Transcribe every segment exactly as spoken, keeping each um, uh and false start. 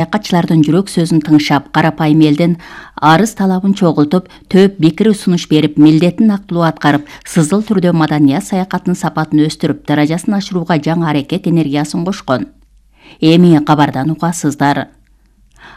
Саякатчылардын жүрөк сөзүн тыңшап, карапайым элдин арыз талабын чогултуп, төп бекири сунуш берип, милдетин актылуу аткарып, сызыл түрдө маданият саякаттын сапатын өстүрүп, даражасын ашырууга жаңы аракет энергиясын кошкон. Эми кабардан угасыздар.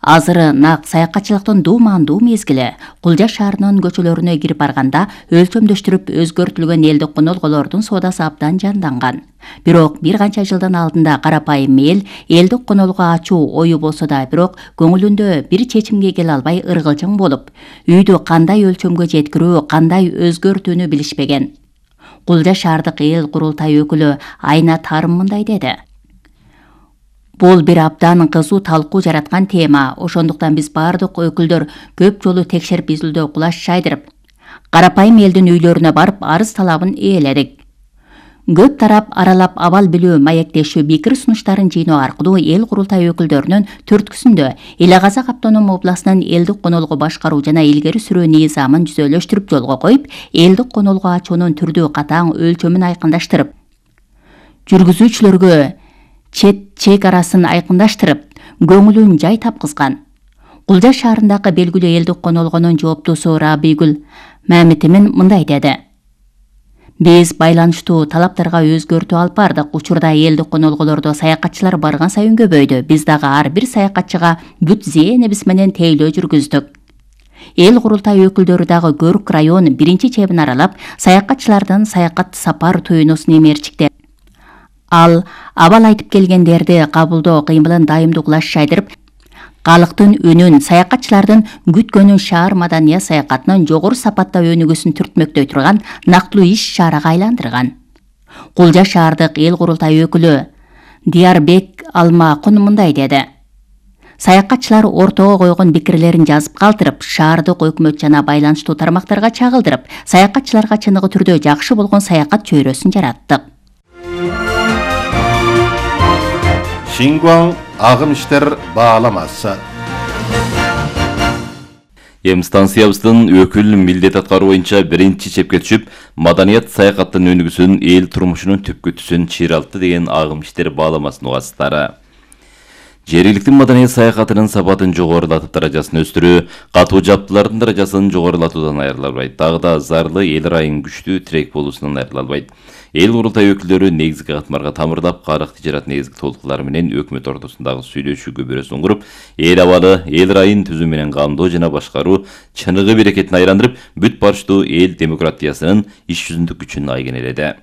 Азыры нак саякатчылыктын дуумандуу мезгили. Кулжа шаарынын көчөлөрүнө кирип барганда өлчөмдөштүрүп өзгөртүлгөн элдик конолголордун соодасы абдан жанданган. Бирок бир канча жылдын алдында карапайым эл элдик конолго ачуу ою болсо да, бирок көңүлүндө бир чечимге келе албай ыргылжың болуп, үйдү кандай өлчөмгө жеткирүү, кандай өзгөртүүнү билишпеген. Кулжа шаардык эл курултай өкүлү Айна Тарым мындай деди. Бул бир абдан кызуу талкуу жараткан тема. Ошондуктан биз бардык өкүлдөр көп жолу текшерип изилдөө кулаш жайдырып, карапайым элдин үйлөрүнө барып арыз талабын ээледик. Көп тарап аралап абал билүү, маектешүү, бекири сунуштарын жыйноо аркылуу эл курултай өкүлдөрүнүн төрткүсүндө Эле Казак автоном областынын элдик конолго башкаруу жана илгери сүрүү низамын жүзөлөштүрүп жолго коюп, элдик конолго ачуунун түрдүү катаң өлчөмүн айкындаштырып, жүргүзүүчүлөргө чет чек арасын айкындаштырып, көңүлүн жай тапкызган. Кулжа шаарындагы белгилүү элдик конолгонун жооптуусу Рабигүл Мамитимин мындай деди. Биз байланыштуу талаптарга өзгөртүү алып бардык. Учурда элдик конолголордо саякатчылар барган сайын көбөйдү. Биз дагы ар бир саякатчыга бүт зээнибиз менен тейлөө жүргүздүк. Эл курултай өкүлдөрү дагы Көрк район биринчи чебин аралап, саякатчылардын саякат сапар туюнусун эмерчикти. Ал абал айтып келгендерди кабылдоо кыймылын дайымдуу кулаш жайдырып, калктын үнүн, саякатчылардын күткөнүн шаар маданият саякатынын жогору сапатта өнүгүүсүн түртмөктөй турган нактылуу иш чарага айландырган. Кулжа шаардык эл курултай өкүлү Диярбек Алмакун мындай деди. Саякатчылар ортого койгон пикирлерин жазып калтырып, шаардык өкмөт жана байланыштуу тармактарга чагылдырып, саякатчыларга чыныгы түрдө жакшы болгон саякат чөйрөсүн жараттык. Шингуан агым иштер бааламасы. Эм станциябыздын өкүл милдет аткаруу боюнча биринчи чепке түшүп, маданият саякаттын өнүгүүсүн, эл турмушунун түпкү түсүн чыйралтты деген агым иштер бааламасын угасыздар. Жергиликтүү маданият саякатынын сапатын жогорулатып, даражасын өстүрүү, катуу жаптылардын даражасын жогорулатуудан айырылбайт. Дагы да зарлы эл ырайын күчтүү тирек болуусунан айырылбайт. Эл курултай өкүлдөрү негизги катмарга тамырдап, карык тижарат негизги толуктулары менен өкмөт ортосундагы сүйлөшүү көбүрөсүн куруп, эл абалы, эл ырайын түзүү менен камдоо жана башкаруу чыныгы берекетин айландырып, бүт барыштуу эл демократиясынын иш жүзүндүк күчүн айгинеледи.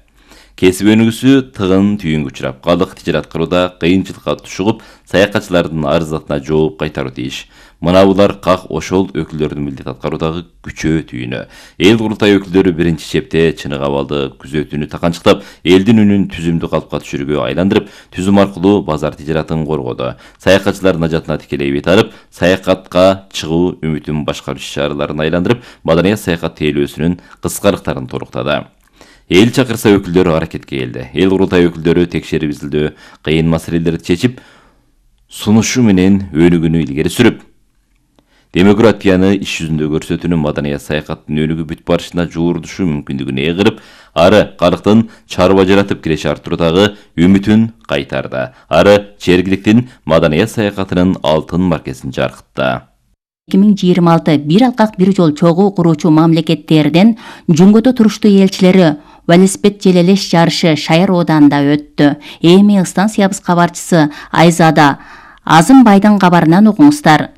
Кесип өнүгүүсү тыгын түйүнгө учурап, калык тижарат кырууда кыйынчылыкка тушугуп, саякатчылардын арыздатына жооп кайтаруу тийиш. Мына булар как ошол өкүлдөрдүн милдет аткаруудагы күчөө түйүнү. Эл курултай өкүлдөрү биринчи чепте чынык абалды күзөтүүнү таканчыктап, элдин үнүн түзүмдүү калыпка түшүрүүгө айландырып, түзүм аркылуу базар тижаратын коргоду. Саякатчылардын ажатына тикелей бет алып, саякатка чыгуу үмүтүн башкаруу иш-чараларын айландырып, маданият саякат тейлөөсүнүн кыскалыктарын толуктады. Эл чакырса өкүлдөрү аракетке келди. Эл курултай өкүлдөрү текшерип изилдөө, кыйын маселелерди чечип, сунушу менен өнүгүүнү илгери сүрүп, демократияны иш жүзүндө көрсөтүүнү, маданият саякаттын өнүгүү бүт барышына жуурдушу мүмкүндүгүн эгирип, ары калктын чарба жаратып киреше артуурдагы үмүтүн кайтарды. Ары жергиликтин маданият саякатынын алтын маркесин жаркытты. эки миң жыйырма алты бир алкак бир жол чогуу куруучу мамлекеттердин Жунгодо туруштуу элчилери велосипед желелеш жарышы Шаяр ооданында өттү. Эми станциябыз кабарчысы Айзада Азымбайдын кабарынан угуңуздар.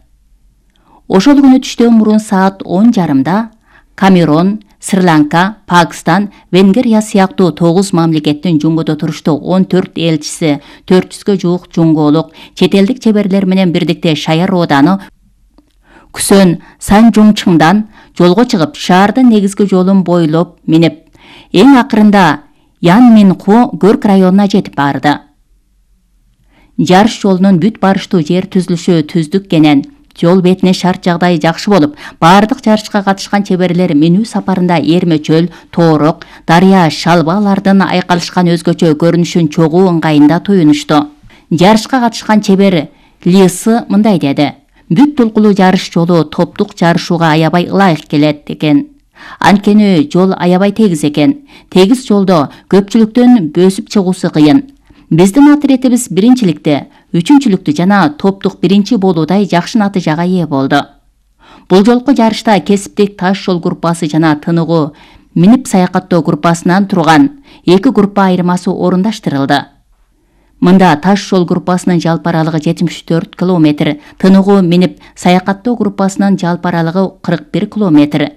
Ошол күнү түштөн мурун саат он жарымда Камерон, Шри-Ланка, Пакистан, Венгерия сыяктуу тогуз мамлекеттин Жунгодо туруштуу он төрт элчиси, төрт жүзгө жуук жунголук, чет элдик чеберлер менен бирдикте Шаяр ооданы Күсөн Санжуңчыңдан жолго чыгып, шаардын негизги жолун бойлоп минип, эң акырында Янминху Көрк районуна жетип барды. Жарыш жолунун бүт барыштуу жер түзүлүшү түздүк кенен, жол бетине шарт жагдайы жакшы болуп, бардык жарышка катышкан чеберлер минүү сапарында Эрмечөл, Тоорок, Дарыя, Шалбалардын айкалышкан өзгөчө көрүнүшүн чогуу ыңгайында туюнушту. Жарышка катышкан чебер Лисы мындай деди. Бүт толкулуу жарыш жолу топтук жарышууга аябай ылайык келет экен. Анткени жол аябай тегиз экен. Тегиз жолдо көпчүлүктөн бөсүп чыгуусу кыйын. Биздин отретибиз биринчиликте үчүнчүлүктү жана топтук биринчи болуудай жакшы натыйжага ээ болду. Бул жолку жарышта кесиптик таш жол группасы жана тыныгуу минип саякаттоо группасынан турган эки группа айырмасы орундаштырылды. Мында таш жол группасынын жалпы аралыгы жетимиш төрт километр, тыныгуу минип саякаттоо группасынын жалпы аралыгы кырк бир километр.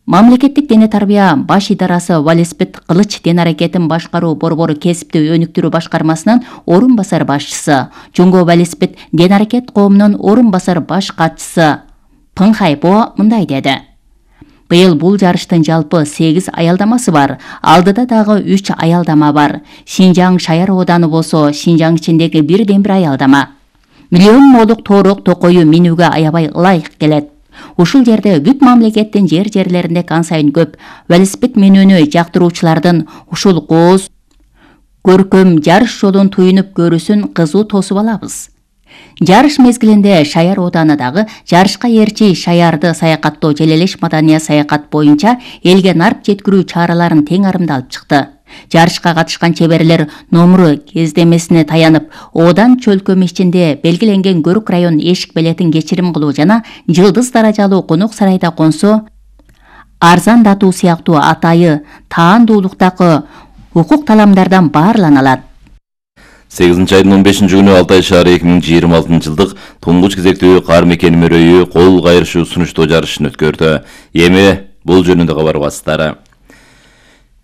Мамлекеттик дене тарбия баш идарасы велосипед кылыч ден аракетин башкаруу борбору кесипти өнүктүрүү башкармасынын орун басар башчысы, Жонго велосипед ден аракет коомунун орун басар баш катчысы Пын Хайбо мындай деди. Быйыл бул жарыштын жалпы сегиз аялдамасы бар. Алдыда дагы үч аялдама бар. Шинжаң шаяр ооданы болсо, Шинжаң ичиндеги бирден бир аялдама. Миллион молук тоорок токою минүүгө аябай ылайык келет. Ушул жерде бүт мамлекеттин жер-жерлеринде кан сайын көп велосипед минүүнү жактыруучулардын ушул кооз көркөм жарыш жолун туюнуп көрүүсүн кызуу тосуп алабыз. Жарыш мезгилинде Шаяр оодарындағы жарышка эрчи шаярды саякаттоо желелеш маданий саякат боюнча элге нарп жеткирүү чараларын тең арымдалып чыкты. Жарышка катышкан чеберлер номуру кездемесине таянып, Одан чөлкөмү ичинде белгиленген Көрүк район эшик билетин кечирим кылуу жана жылдыз даражалуу конок сарайда консо арзандатуу сыяктуу атайы таандуулуктагы укук таламдардан баарлана алат. сегизинчи айдын он бешинчи күнү Алтай шаары эки миң жыйырма алтынчы жылдык туңгуч кезектүү кар мекени мөрөйү кол кайрышуу сунуштоо жарышын өткөрдү. Эми бул жөнүндө кабар басылары.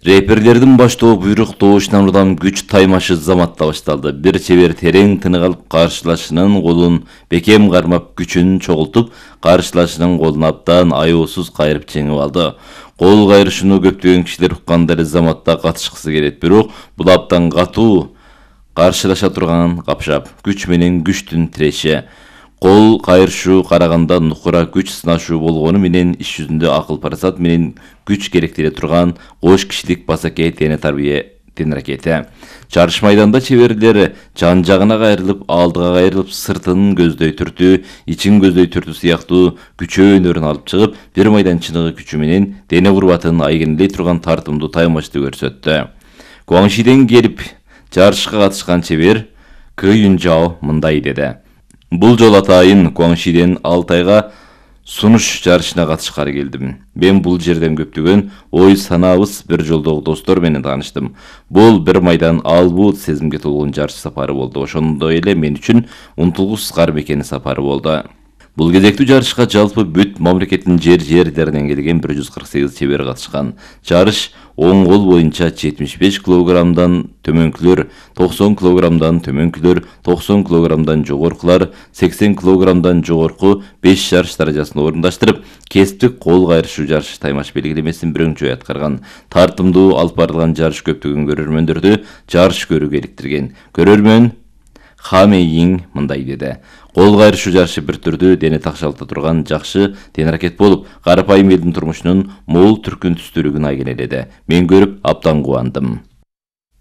Реперлердин баштоо буйрук добушунан улам күч таймашы заматта башталды. Бир чебер терең тынык алып каршылашынын колун бекем кармап күчүн чогултуп, каршылашынын колун абдан аяосуз кайрып жеңип алды. Кол кайрышууну көптөгөн кишилер укканда эле заматта катышкысы келет, бирок бул абдан катуу каршылаша турган капшап, күч менен күчтүн тиреши. Кол кайрышуу караганда нукура күч сынашуу болгону менен иш жүзүндө акыл парасат менен күч керектеле турган кош кишилик басаке дене тарбия ден аракети. Жарыш майданда чеберлер жан жагына кайрылып, алдыга кайрылып, сыртын көздөй түртүү, ичин көздөй түртүү сыяктуу күчөө өнөрүн алып чыгып, бир майданчыныгы күчү менен дене курбатын айгинелей турган тартымдуу таймачты көрсөттү. Гуаңшиден келип жарышка катышкан чебер Кы Юнжао мындай деди. Бул жол атайын Гуаңшиден Алтайга сунуш жарышына катышкары келдим. Мен бул жерден көптөгөн ой санабыз бир жолдогу достор менен тааныштым. Бул бир майдан албут сезимге толгон жарыш сапары болду. Ошондой эле мен үчүн унутулгус кар мекени сапары болду. Бул кезектүү жарышка жалпы бүт мамлекеттин жер-жерлеринен келген бир жүз кырк сегиз чебер катышкан. Жарыш оң кол боюнча жетимиш беш килограммдан төмөнкүлөр, токсон килограммдан төмөнкүлөр, токсон килограммдан жогоркулар, сексен килограммдан жогорку беш жарыш даражасын орундаштырып, кесиптик кол кайрышуу жарышы таймаш белгилемесин бирөңчөй аткарган. Тартымдуу алып барылган жарыш көптөгөн көрөрмөндөрдү жарыш көрүүгө иликтирген. Көрөрмөн Хамейин мындай деди. Кол кайрышуу жарышы бир түрдүү дене такшалта турган жакшы ден аракет болуп, карапайым элдин турмушунун мол түркүн түстүүлүгүн айгинеледи. Мен көрүп абдан кубандым.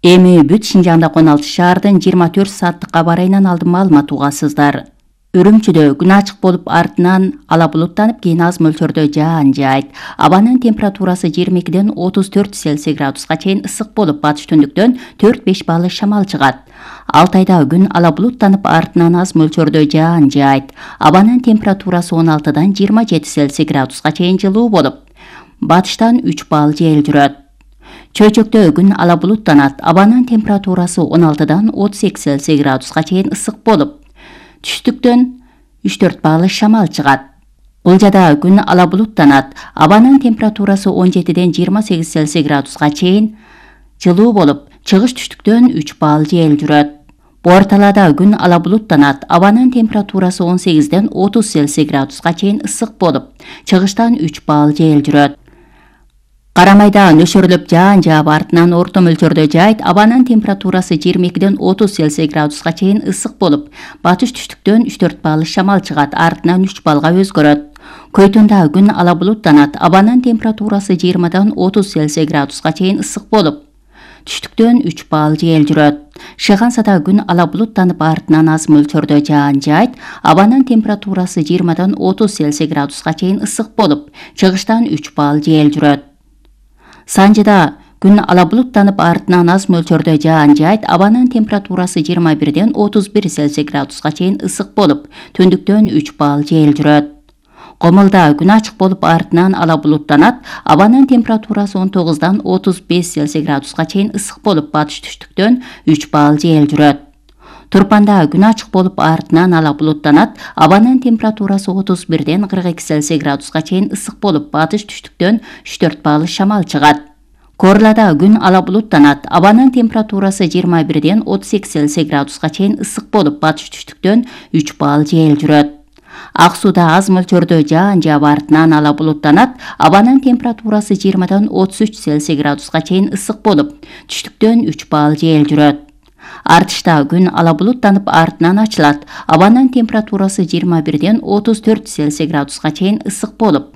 Эми бүт Шинжаңда он алты шаардын жыйырма төрт сааттык кабар айынан алдын маалымат угасыздар. Үрүмчүдө күн ачык болуп, артынан ала булуттанып, кийин аз мөлчөрдө жаан жаайт. Абанын температурасы жыйырма экиден отуз төрт Цельсий градуска чейин ысык болуп, батыш түндүктөн төрт беш баллы шамал чыгат. Алтайда күн ала булуттанып, артынан аз мөлчөрдө жаан жаайт. Абанын температурасы он алтыдан жыйырма жети Цельсий градуска чейин жылуу болуп, батыштан үч балл жел жүрөт. Чөйчөктө күн ала булуттанат. Абанын температурасы он алтыдан отуз эки Цельсий градуска чейин ысык болуп, түштүктөн үч төрт баллы шамал чыгат. Ылжада күн ала булуттанат. Абанын температурасы он жетиден жыйырма сегиз Цельсий градуска чейин жылуу болуп, чыгыш түштүктөн үч балл жел жүрөт. Буарталада күн ала булуттанат. Абанын температурасы он сегизден отуз Цельсий градуска чейин ысык болуп, чыгыштан үч балл жел жүрөт. Карамайда нөшөрлөп жаан жаап, артынан орто мөлчөрдө жаайт. Абанын температурасы жыйырма экиден отуз Цельсий градуска чейин ысык болуп, батыш түштүктөн үч төрт баллы шамал чыгат, артынан үч баллга өзгөрөт. Көйтүндө күн ала булуттанат. Абанын температурасы жыйырмадан отуз Цельсий градуска чейин ысык болуп, түштүктөн үч балл жел жүрөт. Шыгансада күн ала булуттанып, артынан аз мөлчөрдө жаан жаайт. Абанын температурасы жыйырмадан отуз Цельсий градуска чейин ысык болуп, чыгыштан үч балл жел жүрөт. Санжыда Күн ала булуттанып артынан аз мөлчөрдө жаан жайт, абанын температурасы жыйырма бирден отуз бир Цельсий градуска чейин ысык болуп, түндүктөн үч балл жел жүрөт. Комулда күн ачык болуп артынан ала булуттанат, абанын температурасы он тогуздан отуз беш Цельсий градуска чейин ысык болуп, батыш түштүктөн үч балл жел жүрөт. Турпанда күн ачык болуп артынан ала булуттанат, абанын температурасы отуз бирден кырк эки Цельсий градуска чейин ысык болуп, батыш түштүктөн үч төрт балл шамал чыгат. Корлада күн ала булуттанат, абанын температурасы жыйырма бирден отуз эки Цельсий градуска чейин ысык болуп, батыш түштүктөн үч балл жел жүрөт. Ак сууда аз мөлчөрдө жаан жаап артынан ала булуттанат, абанын температурасы жыйырмадан отуз үч Цельсий градуска чейин ысык болуп, түштүктөн үч балл жел жүрөт. Артышта күн ала булуттанып артынан ачылат, абанын температурасы жыйырма бирден отуз төрт Цельсий градуска чейин ысык болуп,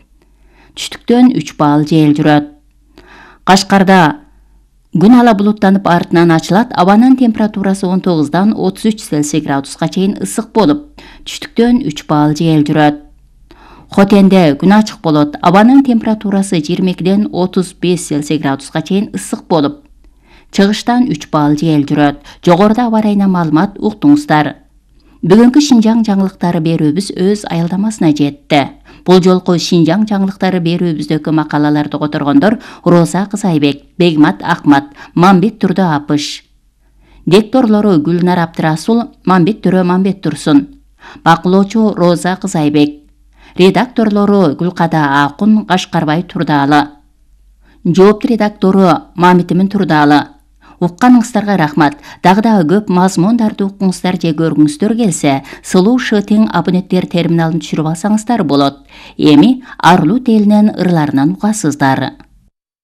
түштүктөн үч балл жел жүрөт. Кашкарда күн ала булуттанып артынан ачылат, абанын температурасы он тогуздан отуз үч Цельсий градуска чейин ысык болуп, түштүктөн үч балл жел жүрөт. Хотенде күн ачык болот, абанын температурасы жыйырма экиден отуз беш Цельсий градуска чейин ысык болуп, чыгыштан үч балл жел жүрөт. Жогоруда аба ырайына маалымат уктуңуздар. Бүгүнкү Шинжаң жаңылыктары берүүбүз өз аялдамасына жетти. Бул жолку Шинжаң жаңылыктары берүүбүздөгү макалаларды которгондор Роза Кызайбек, Бегмат Акмат, Мамбет Турдо Апыш. Дикторлору Гүлнар Абдырасул, Мамбет Төрө Мамбет Турсун. Бакылоочу Роза Кызайбек. Редакторлору Гүлкада Акун, Кашкарбай Турдаалы. Жоопту редактору Мамитимин Турдаалы. Укканыңыздарга рахмат. Дагы да көп мазмундарды укуңуздар же көргүңүздөр келсе, Сылуу Шытың абоненттер терминалын түшүрүп алсаңыздар болот. Эми Арлут элинин ырларынан угасыздар.